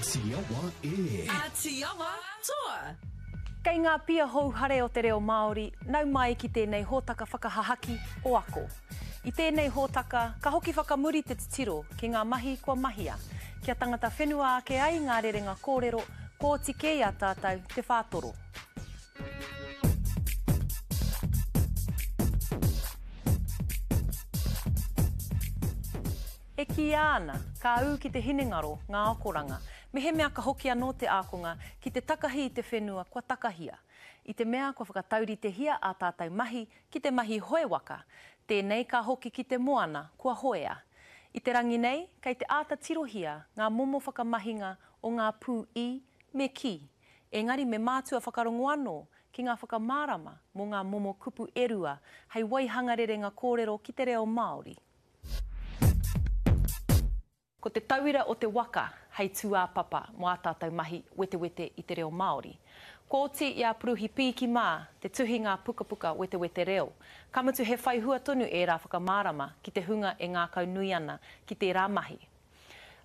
Āti Awa e. Āti Awa toa! Kei ngā pia houhare o te reo Māori, nau mai ki tēnei hōtaka whakahahaki o Ako. I tēnei hōtaka, ka hoki whakamuri te titiro ki ngā mahi kua mahia, kia tangata whenua ake ai ngā rerenga kōrero, kua oti kē i a tātou te whātoro. E kīia ana, ka ū ki te hinengaro ngā akoranga, mehemea ka hoki anō te ākonga ki te takahi i te whenua kua takahia. I te mea kua whakatauritehia ā tātou mahi ki te mahi hoe waka, tēnei ka hoki ki te moana kua hoea. I te rangi nei, kei te āta tirohia ngā momo whakamahinga o ngā pū i me ki, engari me mātua whakarongo anō ki ngā whakamārama mō ngā momo kupu e rua hei waihanga rerenga kōrero ki te reo Māori. Ko te tauira o te waka hei tūāpapa mō ā tātou mahi wetewete i te reo Māori. Kua oti i a Puruhi Piiki mā te tuhi ngā pukapuka wetewete reo, ka mutu he whai hua tonu ērā whakamārama ki te hunga e ngākaunui ana ki tērā mahi.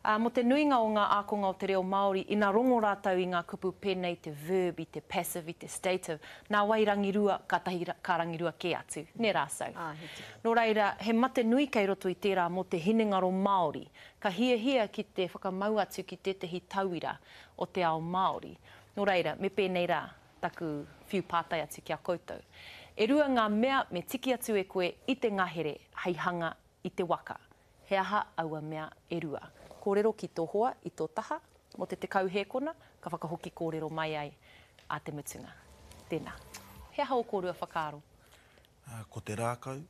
Ā, mō te nuinga o ngā ākonga o te reo Māori, ina rongo rātou i ngā kupu pēnei te verb, i te passive, i te stative, nā wai rangirua, kātahi ka rangirua kē atu, nē rā so. Nō reira, he mate nui kei roto i tērā mō te hinengaro Māori, ka hiahia ki te whakamau atu ki tētahi tauira o te ao Māori. Nō reira, me pēnei rā taku whiu pātai atu ki a koutou. E rua ngā mea me tiki atu e koe i te ngahere hei hanga i te waka. He aha aua mea e rua? Kōrero ki tō hoa i tō taha mō te 10 hēkona, ka whakahoki kōrero mai ai ā te mutunga. Tēnā. He aha ō kōrua whakaaro? Ko te rākau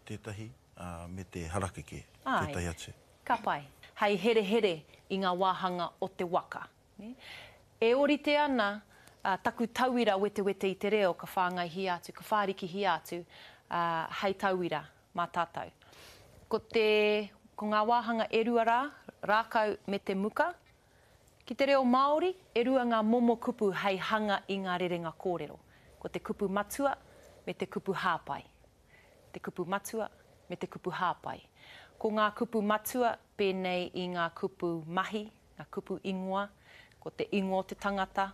tētahi, me te harakeke tētahi atu. Āe. Ka pai. Hei herehere i ngā wāhanga o te waka. E ōrite ana taku tauira wetewete i te reo ka whāngaihia atu, ka whārikihia atu hei tauira mā tātou. Ko te, ko ngā wāhanga e rua rā, rākau me te muka. Ki te reo Māori, e rua ngā momo kupu hei hanga i ngā rerenga kōrero. Ko te kupu matua me te kupu hāpai. Te kupu matua me te kupu hāpai. Ko ngā kupu matua pēnei i ngā kupu mahi, ngā kupu ingoa, ko te ingoa o te tangata,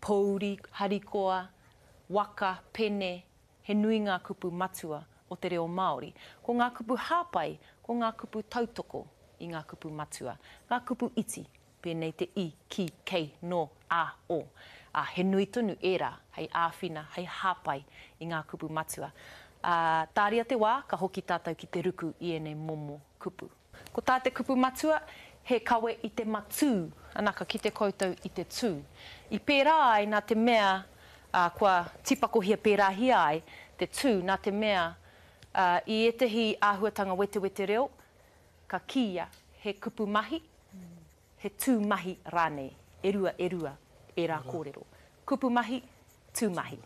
pōuri, harikoa, waka, pene, He nui ngā kupu matua o te reo Māori. Ko ngā kupu hāpai, ko ngā kupu tautoko i ngā kupu matua. Ngā kupu iti, pēnei te i, ki, kei, nō, ā, o. Ā, he nui tonu ērā hei āwhina, hei hāpai i ngā kupu matua. Ā, tāria te wā, ka hoki tātou ki te ruku i ēnei momo kupu. Ko tā te kupu matua, he kawe i te matū, ana ka kite koutou i te tū. I pērā ai nā te mea, ā, kua tīpakohia pērāhia ai te tū nā te mea, ā, i ētahi āhuatanga wetewete reo, ka kīia he kupu mahi, he tū mahi rānei, e rua, e rua ērā kōrero. Kupu mahi, tū mahi.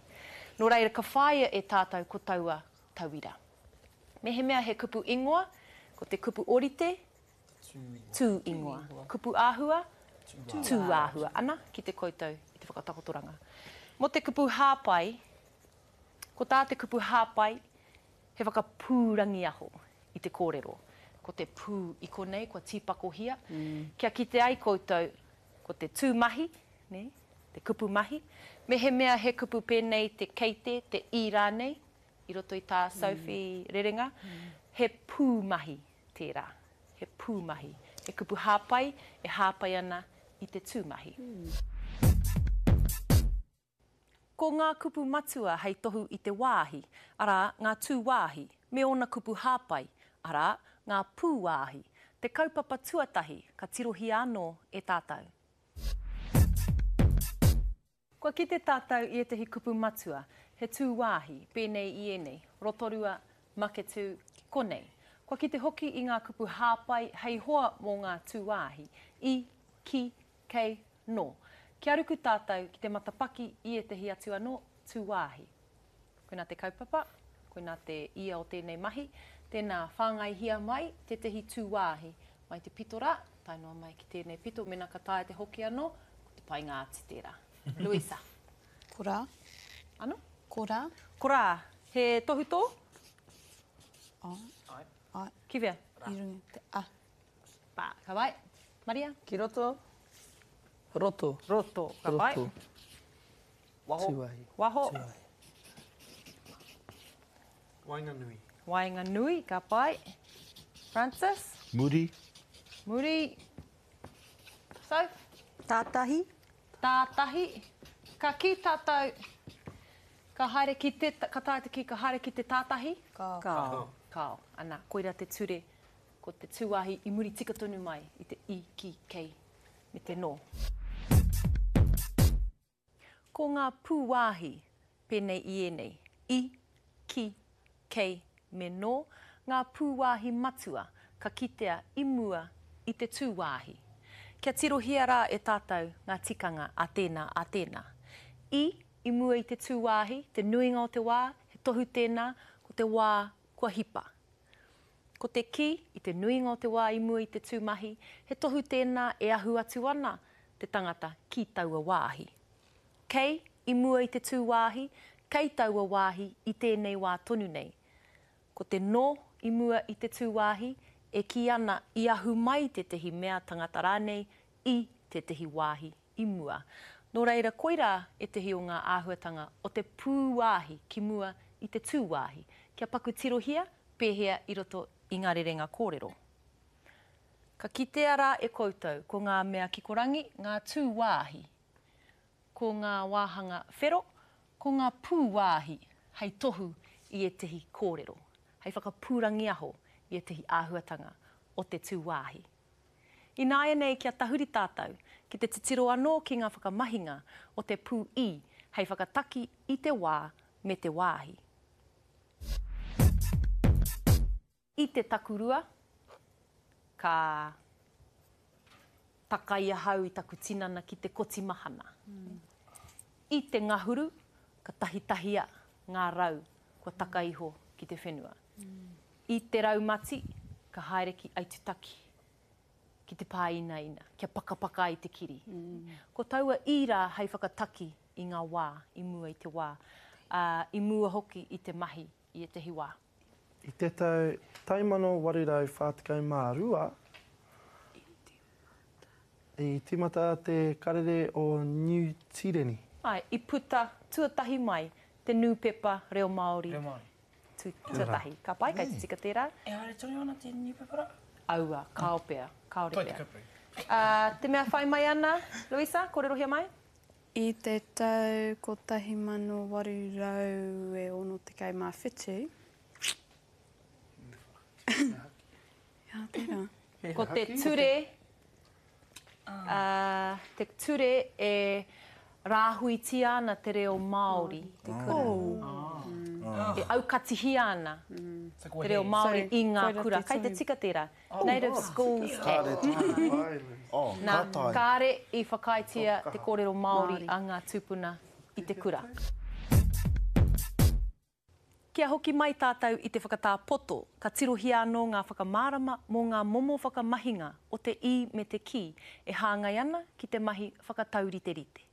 Nō reira, ka whāia e tātou ko taua tauira. Mehemea he kupu ingoa, ko te kupu orite, tū ingoa. Kupu āhua, tū āhua. Ana, kite koutou i te whakatakotoranga. Mō te kupu hāpai, ko tā te kupu hāpai, he whakapūrangiaho i te kōrero. Ko te pū i konei kua tīpakohia, kia kite ai koutou ko te tū mahi, nē, te kupu mahi. Mehemea he kupu pēnei te kei te, te i rānei, i roto i tā Sophie rerenga, he pūmahi tērā, he pūmahi, he kupu hāpai e hāpai ana i te tūmahi. Ko ngā kupu matua hei tohu i te wāhi, arā, ngā tūwāhi, me ōna kupu hāpai, arā, ngā pūwāhi, te kaupapa tuatahi ka tirohia anō e tātou. Kua kite tātou i ētahi kupu matua, he tūwāhi, pēnei i ēnei, Rotorua, Maketū, konei. Kua kite hoki i ngā kupu hāpai hei hoa mō ngā tūwāhi, i, ki, kei, nō. Kia ruku tātou ki te matapaki i ētahi atu anō tūwāhi. Koinā te kaupapa, koinā te ia o tēnei mahi. Tēnā, whāngaihia mai tētahi tūwāhi mai te pito rā, tae noa mai ki tēnei pito, mēnā ka taea te hoki anō, ko te painga atu tērā. Luisa. Ko rā. Ano? Ko rā. Ko rā. He tohutō? Ai. Ai. Ai. Ki whea? I runga te a. Pā. Ka pai. Maria? Ki roto. Roto. Roto. Ka pai. Roto. Waho. Tuahi. Waho. Tuahi. Waenganui. Waenganui, ka pai. Francis? Muri. Muri. Soph? Tātahi. Tātahi. Ka kī tātou, ka haere ki te, ka taea te kī ka haere ki te tātahi? Kāo. Kāo. Kāo. Ana, koirā te ture, ko te tūwāhi i muri tika tonu mai i te i, ki, kei, me te nō. Ko ngā pūwāhi pēnei i ēnei, i, ki, kei, me nō, ngā pūwāhi matua ka kitea i mua i te tūwāhi. Kia tirohia rā e tātou ngā tikanga a tēnā, a tēnā. I, i mua i te tūwāhi, te nuinga o te wā, he tohu tēnā, ko te wā kua hipa. Ko te ki, i te nuinga o te wā i mua i te tūmahi, he tohu tēnā e ahu atu ana te tangata ki taua wāhi. Kei, i mua i te tūwāhi, kei taua wāhi i tēnei wā tonu nei. Ko te nō i mua i te tūwāhi, e kī ana i ahu mai tētehi mea tangata rānei i tētehi wāhi i mua. Nō reira koirā ētehi o ngā āhuatanga o te pūwāhi ki mua i te tūwāhi, kia paku tirohia pēhea i roto i ngā rerenga kōrero. Ka kitea rā e koutou ko ngā mea kikorangi ngā tūwāhi, ko ngā wāhanga whero, ko ngā pūwāhi hei tohu i ētehi kōrero, hei whakapūrangiaho i ētehi āhuatanga o te tūwāhi. Ināianei kia tahuri tātou ki te titiro anō ki ngā whakamahinga o te pū i hei whakataki i te wā me te wāhi. I te takurua, ka takai ahau i taku tinana ki te koti mahana. I te ngahuru, ka tahitahia ngā rau kua taka iho ki te whenua. I te raumati, ka haere ki Aitutaki, ki te pāinaina, kia pakapaka ai te kiri. Ko taua i rā hei whakataki i ngā wā, i mua i te wā, ā, i mua hoki i te mahi i ētehi wā. I te tau 1842, i tīmata te Karere o Niu Tīreni. Āe, i puta tuatahi mai te nūpepa reo Māori tuatahi. Ka pai, kei te tika tērā. E haere tonu ana te nūpepa rā? Aua, kāo pea, kāore Toi pea. te kupu. Ā, te mea whai mai ana, Louisa, kōrerohia mai? I te tau 1867, Ia, tērā. Ko te ture, ā, te ture e rāhuitia ana te reo Māori. Te kura. E aukatihia ana te reo Māori i ngā kura. Kei te tika tērā. Native Schools Act. Nā, kāre i whakaaetia te kōrero Māori a ngā tūpuna i te kura. Kia hoki mai tātou i te whakatā poto, ka tirohia anō ngā whakamārama mō ngā momo whakamahinga o te i me te ki e hāngai ana ki te mahi whakatauriterite.